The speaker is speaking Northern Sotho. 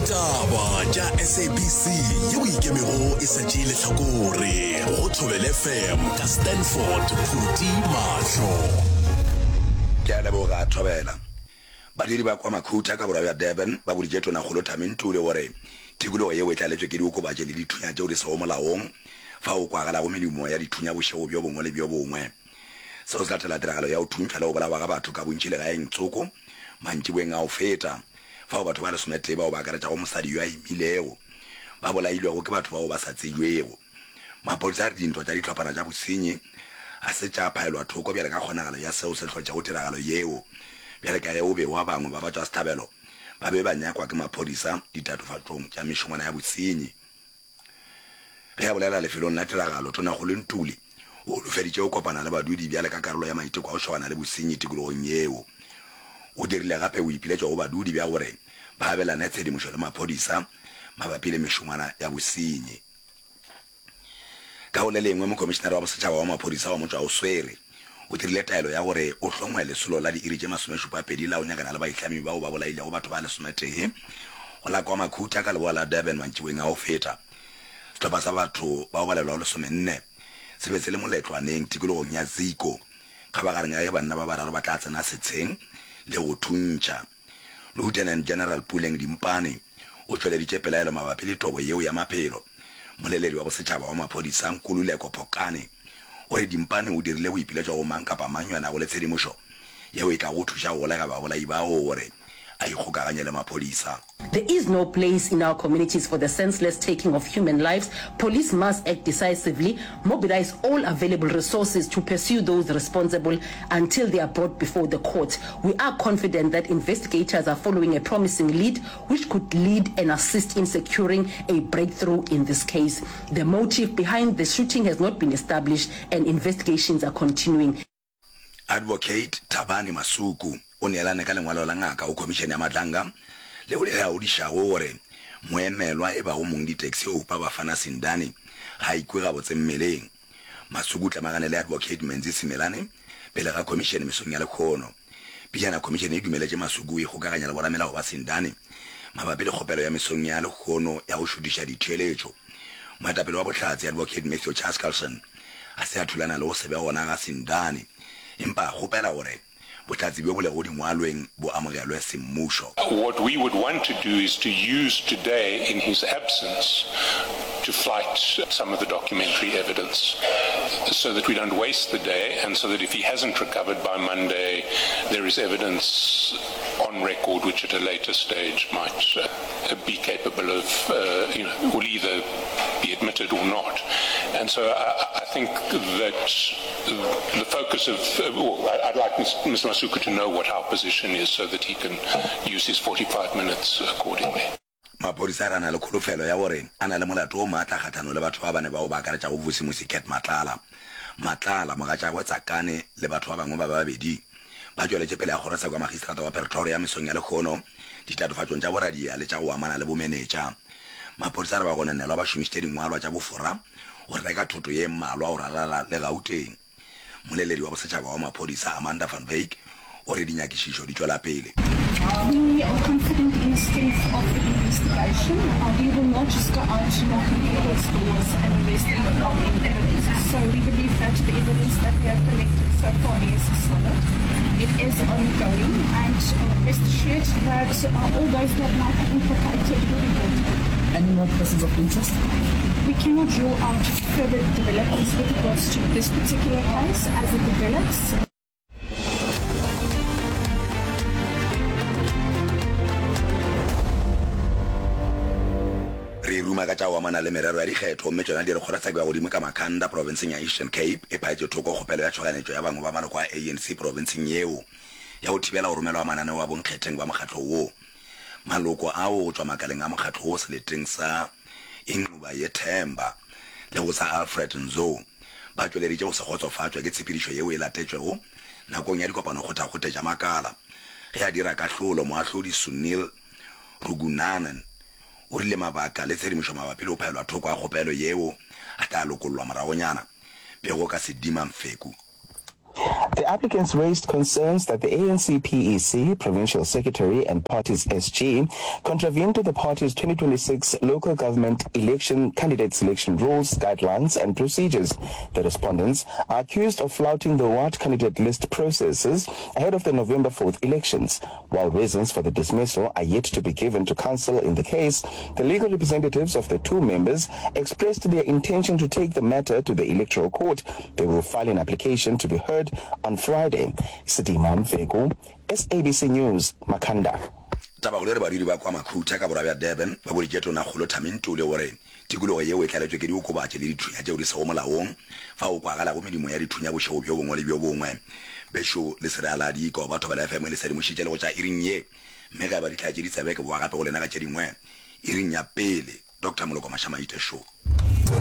Ditaba tša SABC yeo e ikemego e sa tšee lehlakore go Thobela FM ka Stanford Phuti Mahlo. Ke a leboga, Thobela. Badudi ba kwa Makhutha ka borwa bja Durban ba boditše Tonakgolo Thami Ntuli gore tikologo yeo e tlaletšwe ke diokobatši le dithunya tšeo di sego molaong fao go kwagalago medumo ya dithunya bošego bjo bongwe le bjo bongwe. Seo se latela tiragalo ya go thuntšhwa le go bolawa ga batho ka bontši legaeng tsoko mantšiboeng a go feta, fao batho ba lesometee bao ba akaretšago mosadi yo a imilego ba bolailwego ke batho bao ba sa tsebjwego. Maphodisa a re dintwa tša dihlophana tša bosenyi ga se tša phaelwa thoko bjale ka kgonagalo ya seo se hlotšego tiragalo yeo, bjale ka ge go begwa bangwe ba batšwasehlabelo ba be ba nyakwa ke maphodisa ditatofatšong tša mešongwana ya bosenyi. Ge a bolela lefelong la tiragalo, Tonakgolo Ntuli o holofeditše go kopana le badudi bjale ka karolo ya maiteko a go šogana le bosenyi tikologong yeo. O dirile gape boipiletšo go badudi bja gore ba abelane tshedimošo le maphodisa mabapi le mešongwana ya bosenyi. Ka go le lengwe, Mokomišenare wa Bosetšhaba wa Maphodisa wa Motšwaoswere o dirile taelo ya gore o hlongwe lesolo la diiri tše masomešupapedi la go nyakana le baitlami bao ba bolailego batho ba lesometee go la KwaMakhutha ka leboa la Durban mantšiboeng a go feta. Sehlopha sa batho ba go balelwago lesomenne se be se le moletlwaneng tikologong ya Ziko kgabagareng ya ge banna ba bararo ba tla tsena setsheng le go thuntšha. Lieutenant General Puleng Dimpane o tšweleditše pelaelo mabapi le tobo yeo ya maphelo. Moleledi wa bosetšhaba wa maphodisa Nkululeko Phokane o re Dimpane o dirile boipiletšo go mang kapa mang yo a nago le tshedimošo yeo e tlago go thuša go golega babolai bao gore a ikgokaganye le maphodisa. There is no place in our communities for the senseless taking of human lives. Police must act decisively, mobilise all available resources to pursue those responsible until they are brought before the court. We are confident that investigators are following a promising lead which could lead and assist in securing a breakthrough in this case. The motive behind the shooting has not been established and investigations are continuing. Advocate Thabani Masuku o neelane ka lengwalo la ngaka go Khomišene ya Madlanga leo le laodišago gore moemelwa e bago mongditaxi Oupa Bafana Sindane ga a ikwe gabotse mmeleng. Masuku o tlemagane le Advocate Menzi Simelane pele ga khomišene mesong ya lekhono. Pejana khomišene e dumeletše Masuku go ikgokaganya le boramelao ba Sindane mabapi le kgopelo ya mesong ya lekhono ya go šutiša ditheeletšo. Moetapele wa bohlatse Advocate Matthew Chaskalson ga se a thulana le go se be gona ga Sindane empa a kgopela gore bohlatse bjo bo lego dingwalweng bo amogelwe semmušo. What we would want to do is to use today in his absence to flight some of the documentary evidence so that we don't waste the day and so that if he hasn't recovered by Monday there is evidence on record which at a later stage might be capable of, you know, will either be admitted or not. And so I, I think that the focus of, well, I'd like Mr. Masuku to know what our position is so that he can use his 45 minutes accordingly. Maphodisa a re a na le kholofelo ya gore a na le molato o maatla kgahlanong le batho ba bane bao ba akaretšago Vusimusi Cat Matlala, Matlala, mogatšagwe Tsakane le batho ba bangwe ba babedi. Ba tšweletše pele ga kgorotsheko ya magistrata wa Pretoria mesong ya lehono ditatofatšong tša boradia le tša go amana le bomenetša. Maphodisa a re bagononelwa ba šomišitše dingwalwa tša bofora go reka thoto ye mmalwa go ralala le Gauteng. Moleledi wa bosetšhaba wa maphodisa Amanda van Wyk o re dinyakišišo di tšwela pele. We are confident in the strength of the investigation. We will not just go out knocking people's doors and arrest them without any evidence. So we believe that the evidence that we have collected so far is solid. It is ongoing and rest assured that all those that might be implicated will be brought to book. Any more persons of interest? We cannot rule out further developments with regards to this particular case as it develops. Re ruma ka tša go amana le merero ya dikgetho gomme tšona di re kgorotsheko ya godimo ka Makhanda profenseng ya Eastern Cape e phaetše thoko kgopelo ya tšhoganetšo ya bangwe ba maloko a ANC profenseng yeo ya go thibela go romelwa ga mananeo a bonkgetheng ba mokgatlo wo. Maloko ao go tšwa makaleng a mokgatlo wo seleteng sa Inxuba Yethemba le go sa Alfred Nzo ba tšweleditše go se kgotsofatšwe ke tshepedišo yeo e latetšwego nakong ya dikopanokgothakgothe tša makala. Ge a dira kahlolo, moahlodi Sunil Rugunanan o rile mabaka le tshedimošo mabapi le go phaelwa thoko ga kgopelo yeo a tla lokollwa moragonyana. Pego ka Sedima Mfeku. The applicants raised concerns that the ANC PEC, Provincial Secretary and party's SG contravened the party's 2026 local government election candidate selection rules, guidelines and procedures. The respondents are accused of flouting the ward candidate list processes ahead of the November 4th elections. While reasons for the dismissal are yet to be given to counsel in the case, the legal representatives of the two members expressed their intention to take the matter to the electoral court. They will file an application to be heard on Friday. Sidima Mfeku, SABC News, Makhanda. Tabakgolo e re badudi ba kwa Makhutha ka borwa bja Durban ba boditše Tonakgolo Thami Ntuli gore tikologo yeo e tlaletšwe ke diokobatši le dithunya tšeo di sego molaong fao go kwagalago medumo ya dithunya bošego bjo bongwe le bjo bongwe. Bešo le se re ala diko ba Thobela FM e le sedimošitše le go tša iring ye mme ge eba di tla tše ditsebe ke bowa gape go lena ka tše dingwe iring ya pele. Doctor Moloko Mashamaite Show.